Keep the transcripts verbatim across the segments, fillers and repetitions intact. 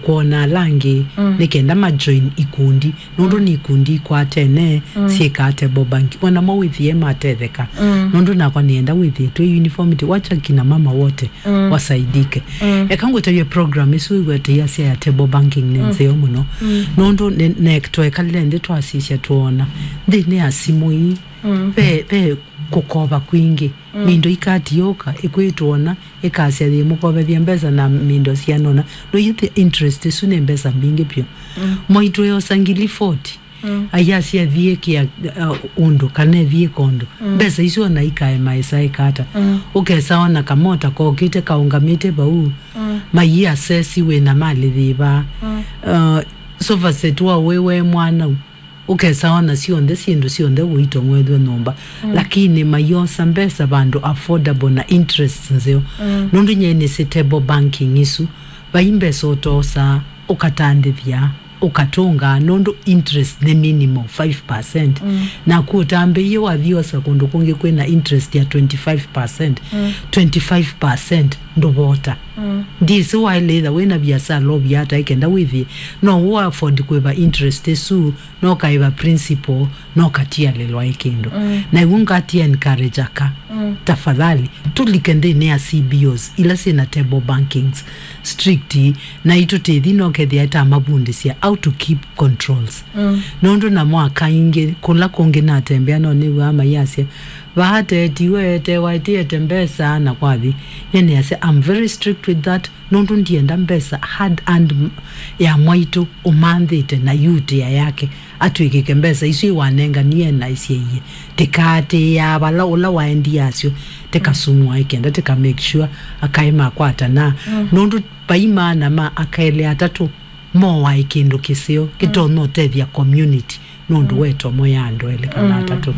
kwona ala angĩ, mm, nĩ kenda majoin ikundi, nũndũ, mm, nĩ ikundi ikwatene, mm, syĩkaa table banking. Onamo wĩthĩe matetheka. Mm. Nũndũ nakwa nĩenda wĩthĩe twĩ uniformity, wacha kina mama wote, mm, wasaidike. Mm. Eka ngũtavye program ĩsu wĩw'ete yasya ya table banking nĩ, mm, nzeo mũno. Mm. Nũndũ nĩ, nĩ, twekalile nthĩ twasisya twona nthĩnĩ ya simũ ii, mm, ve, ve kũkova kwingĩ. Mm. Mindo ikatiũka, ĩkwĩtwona, ĩkasya yĩmũkovethya mbesa na mindo syanona. No you the interest ĩsu nĩ mbesa mbingĩ vyũ. Mm. Mwaitũ eosa ngili forty. Mm. Ayasya thiĩ kĩa, uh, ũndũ, kana thiĩ kondũ. Mm. Mbesa isu ona ikaema ĩsa ĩkata. Mm. Ũkesa ona kamota kokĩte kaũngamĩte vau. Mm. Mayi asesi wĩna malĩ yĩva. Mm. Uh, sofa set wa wĩ we mwana u. Ũkesa ona syonthe, syĩndũ syonthe ũitong'wethw'e nyũmba. Mm. Lakini mayosa mbesa vandũ affordable na interest nzeo. Mm. Nũndũ nyie nĩsĩ table banking isu, vai mbesa ũtosaa, ũkatandĩthya, ũkatũngaa, nũndũ interest nĩ minimal five percent. Mm. Naku ũtambĩie wathi osa kũndũ kũngĩ kwĩna interest ya twenty-five percent. Mm. Twenty-five percent ndũvota. Mm. Ndĩsĩ waĩle ĩtha wĩna viasala ũvya ata ĩkenda wĩthĩe no ũ afford kũĩva interest ĩsu, no kaĩva principal, no katialĩlwa ĩ kĩndũ. Mm. Na ĩw'o ngati encourage aka, mm, tafadhali, tũlike nthĩnĩ ya C B Os ila syĩna table bankings strict, na itũtĩthi no kethĩa ta mavundĩsya how to keep controls. Mm. Nũndũ namo aka ingĩ, kũla kũngĩ natembea no nĩw'aa mayasya, vaa tetiwe, tewa ĩtĩete mbesa, na kwathi. Nyie nĩasya, I'm very strict with that, nũndũ ndienda mbesa hard earned m-, ya mwaitũ ũmanthĩte na yutĩa yake atw'ĩkĩke mbesa isu ĩwanenganie na ĩsyaie. Tĩkaatĩĩaa vala ũla waendie asyo, tĩkasumũa ĩkenda tĩka make sure akaĩ makwatana. Mm. Nũndũ vai maana ma akaelĩ atatũ moaĩ kĩndũ kĩseo kĩtonya ũtethya community. Nũndũ, mm, wetomo ya andũ elĩ kana, mm, atatũ.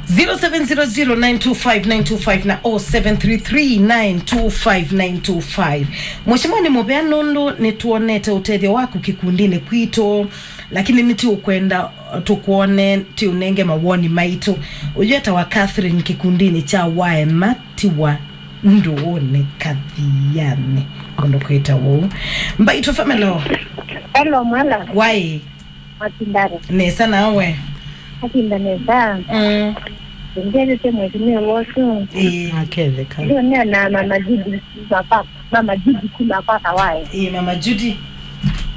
Zero seven zero zero nine two five nine two five na oh seven three three nine two five nine two five. Mheshimiwa, nĩ mũvea nũndũ nĩtwonete ũtethyo waku kĩkundinĩ kwitũ, lakini nĩtũkwenda tũkwone, tũũnenge mawoni maitũ. Ũyũ etawa Catherine kĩkundinĩ kya Waema, tiwa ndũũnĩ Kathianĩ. Kũndũ kwĩta ũu. Mbaitũ family. Hello, mwana. Wai. Matindare. Nesa nawe. Matinda nesa. Mm. Ngetete mwezi nĩ wosu. Ĩĩ. Aketheka. Ndio nĩ na mama Judy, mama, mama Judy kuma kwa Kawai. Ĩĩ, mama Judy.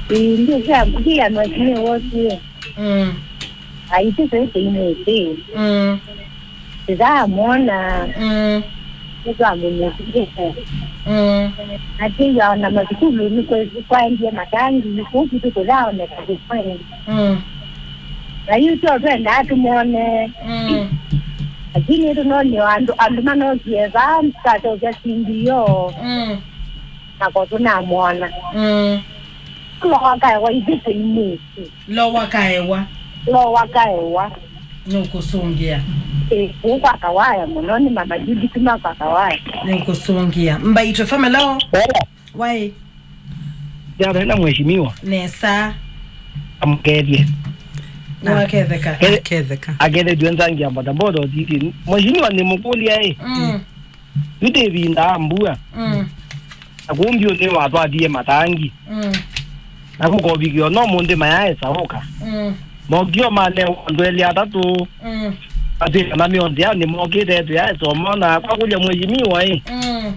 Ĩĩ, ndio sasa ndio mwezi nĩ wosu. Mm. Aitĩte ĩte inĩte. Mm. Tũtamwona. Mm. Nĩtwamũnyĩsĩte. Mm. Atĩw'a ona mathukulu nĩ kwe-, kwaendie matangi, kũu kwitũ kũthaoneka kĩkweli. Mm. Na yu tyo twendaa tũmwone. Mm. Lakini tũnonio andũ, andũ manokie vaa, twaseũvya sindi yo. Mm. Na ko tũnamwona. Mm. Lowa kaewa ithyĩ tũimwĩsĩ. Lowa kaewa. Lowa kaewa. Nũkũsũngĩa. Ĩ, kũu kwa Kawaya mũno, nĩ mama Judy kuma kwa Kawaya. Nũkũsũngĩa. Mbaitũ family. Hello. Wai. Jana na mheshimiwa. Nesa. Amkethie. Nĩwaketheka. Ketheka. Akethethw'e nzangi ya bodaboda ũtiti. Mheshimiwa nĩ mũkũlya ĩ. Mm. Yu ndĩvindaa mbua. Mm. Na kũu mbyũnĩ watwatie matangi. Mm. Na kũkovikĩwa no mũndĩ mayaesa ũka. Mm. Mokio manewa andũ elĩ atatũ. Mm. Atwĩka na mĩonzĩ yao nĩmokĩte tũyaesa ũmona. Kwa kũlya mheshimiwa ĩ. Mm.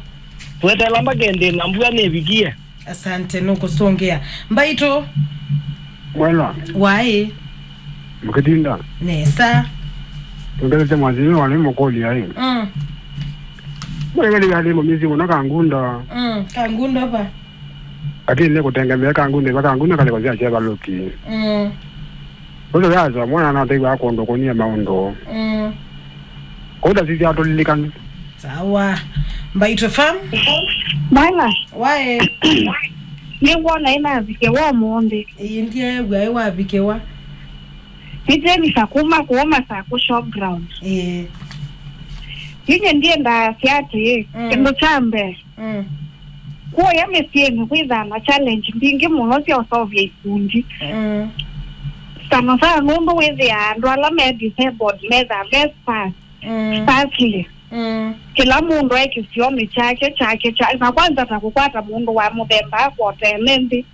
Twetela mbakendĩ na mbua nĩvikie. Asante, nũkũsũngĩa. Mbaitũ. Mwela. Waĩ. Mũkĩtinda. Nesa. Tũngelete mwathimi wa nĩ mũkũlya ĩ. Mm. Mwela nĩ yalĩ mũmisi mũno Kangundo. Mm, Kangundo va. Lakini nĩ kũtengemea Kangundo, va Kangundo kalĩko sya chevaluki. Mm. Ũcio yasomwa na nateiwa kũndũ kũnie maũndũ. Mm. Kũu ndasisya atũlilikana. Sawa. Mbaitũ F M. Mwana. Wae. Nĩwona ĩnavikĩwa ũmũnthĩ. Ĩĩ, ndyeew'a ĩwavikĩwa. Nĩtwĩmisa kuma kũũ Masakũ showground. Ĩĩ. Yu nyie ndiendaa sya atĩĩ, mm, kĩndũ kya mbee, mm, kũya mĩsyĩnĩ kwĩthaa na challenge mbingĩ mũno sya ũseũvya ikundi. Mm. Sana sana nũndũ wĩthĩaa andũ ala me disabled methaa me sparse, mm, sparsely. Mm. Kĩla mũndũ e kĩsionĩ kyake, kyake, kyake. Na kwanza ta kũkwata mũndũ wa mũthemba akwotele nthĩ.